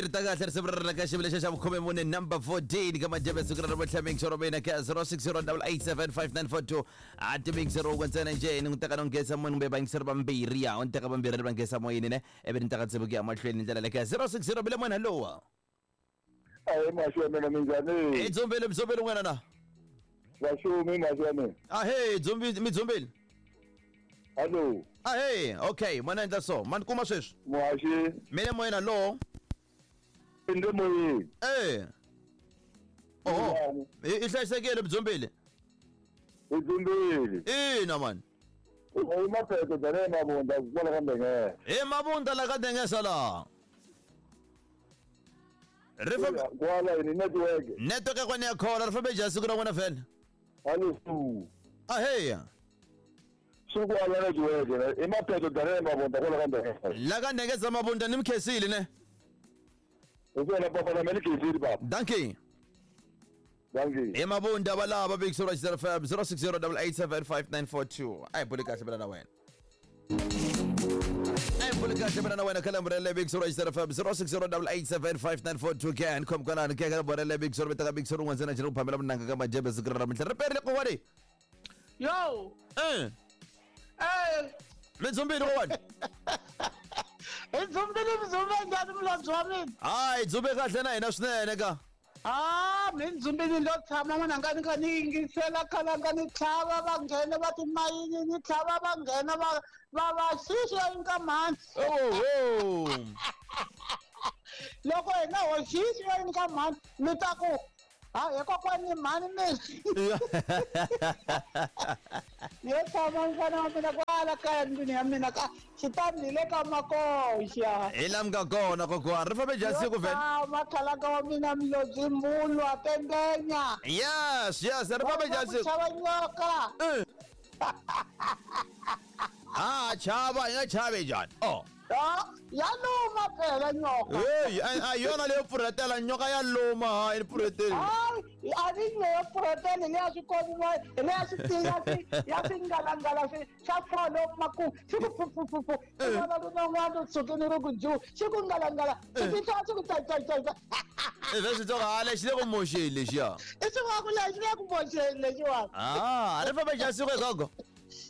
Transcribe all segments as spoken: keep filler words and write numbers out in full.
ri ta kahle risimu ra rina ka xivilo xa xa vukhume mune number fourteen ka majebe siku ra namuntlha mixero mina ka zero six zero double eight seven five nine four two a ti mixero wun'we ntsena njhe ni n'wi teka no nghesa moyeni kumbe vayingiseri vambirhi ya u ni teka vambirhi ri va nghesa moyeni ne ivi ni teka tsivu ku ya mahlweni hi ndlela leyi ka zero six zero bile moyeni hallowa. Ahe maxi wa mina, minjhani? Hi dzumbile mdzumbile n'wina na? Vaxumi maxi wa mina. Ahee dzumbi mi dzumbile? Hallo. Ahee, okay, mana endla so mani kuma sweswi. Muhaxi. Mina moyeni hallo. Ni le moyeni. Eh. Oho. I hlayisekile mdzumbile? Hi dzumbile. Ina mani. I mapheto bya le Mabunda kwala ka Ndengesa. Hi Mabunda la ka Ndengesa la. Ri fambe kwala ni network. Network ya kona ya khola ri fambe njhani siku ra n'wina vhele? Hallo su. Ahee. Siku ala network i mapheto bya le Mabunda kwala ka Ndengesa. La ka Ndengesa Mabunda ni mkhensile ne? Hi swona papa na mina ni khensile papa. Dankie. Dankie. Hi Mabunda valava Big Sura zero five zero six zero double eight seven five nine four two. A hi buli kahle mina na wena. A hi buli kahle mina na wena ka lembe ra Big Sura zero five zero six zero double eight seven five nine four two ke ni khom kwalano ke ka lembe ra Big Sura vitaka Big Sura un'wana ntsena njhe ku phamela munanga ka majebe siku ra namuntlha ri perile kokwane. Yo. Eh. Eh. Mi dzumbile kokwane. Hi dzumbile mi dzumbe njhani mulobye wa mina? Hayi dzumbe kahle na hina swinene ka. Ah, mi dzumbile lo tshama n'wana nga ni kha ni yingisela khalanga ni tlhava va nghena va timayini ni tlhava va nghena va va va xixa ka mhani. Oho. Loko hina ho xixa ka mhani mi ta ku ha hi kokwani mhani mi. Yo tshama mfana wa mina kwala kaya ndlwini ya mina ka xitandi le ka makoxa. Hi la mi nga kona kokwana ri fambe njhani siku vhele? Makhalaka wa mina mlodzi mbulwa tendenya. Yes, yes, ri fambe njhani siku? Chava nyoka. Eh. Ah, chava, hi nga chavi njhani? Oh. Ya luma phela nyoka. Hey, a yona leyo pfurhetela nyoka ya luma ha yi pfurheteli. Hayi, a ni leyo pfurhetela leya swi komiwa leya swi tiya swi ya swi ngalangala swi swa folo maku swi ku pfu pfu pfu. Swi vona rin'wana tsukeni ri ku ju swi ku ngalangala swi titwa swi ku tai tai tai. I vhe switsongo ha lexi le ku moxeni lexiya. I swi va ku lexi le ku moxeni lexiwani. Ah, ri fambe njhani siku gogo?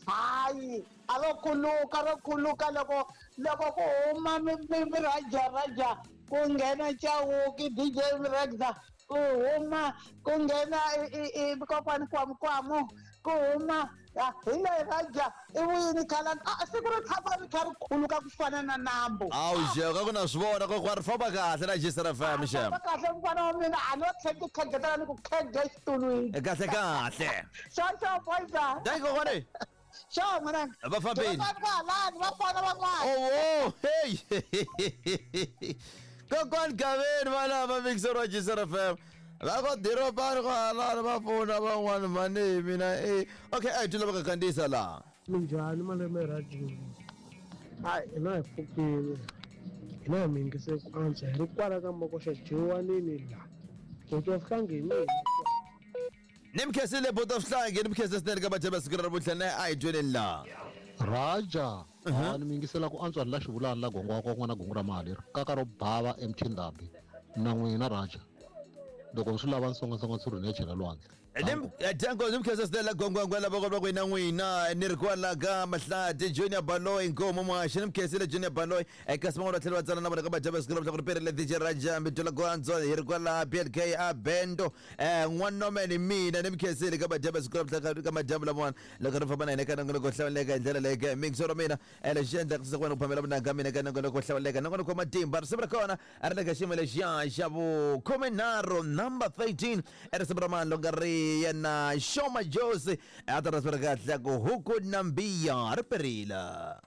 Hayi, a ro khuluka ro khuluka loko loko ku huma mi mi raja raja ku nghena Chauke D J Rexa ku huma ku nghena i kokwani Kwamukwamu ku huma hi leyi raja i vuyini khala a siku ri tshama ri kha ri khuluka ku fana na nambu. Awu xeka ku na swi vona kokwana ri famba kahle na G S F M xem. Famba kahle mfana wa mina a no tlhela ti khegetela ni ku khege xitulwini. Kahle kahle. Xo xo boyza. Dankie kokwane. Xo n'wananga. Va fambile. Va fana van'wana. Oh, hey. Kokwani Gaveni valava Big Sura G S F M. Va ko diropani kwalano va pfuna van'wana mani mina eh. Okay, a hi twi lava ka kandziyisa laha. Minjhani malume rhadiyo? Hayi hina hi pfukile. Hina hi mi yingise ku antswa hi ri kwala ka makoxa dyiwanini laha. Buti wa Sihlangi hi mina. Ni mi khensile buti wa Sihlangi, ni mi khensile swinene ka majebe siku ra namuntlha ne a hi tweni laha. Raja, a ni mi yingisela ku antswa la xivulani la gongo wa n'wana gongo ra mali kaka ro bava emthindabi na n'wina Raja. Loko swi lava nsongasonga tsuri ni chela lwandle. Danko ni mi khensile swinene la gongo la va ku na n'wina ni ri kwala ka Mahlati Junior Baloyi Nkomo Muhaxi ni mi khensile Junior Baloyi eka siman'wana va tlhela va tsala na vona ka majebe siku ra namuntlha ku ri perile D J Raja mi twela ku antswa hi ri kwala B L K a Bendo eh n'wanome ni mina ni mi khensile ka majebe siku ra namuntlha ka madyambu lamawani loko ri famba na hina ka nongonoko wo hlawuleka hi ndlela leyi ke mixo ra mina lexi endlaka leswaku wena ku phamela vunanga mina ka nongonoko wo hlawuleka nongonoko wa matimba risimu ra kona a ri le ka xiyimo lexiya xa vukhumenharhu number thirteen i risimu ra mani loko ri yena Shoma Josi a ta risimu ra kahle ku huku nambiya ri perile.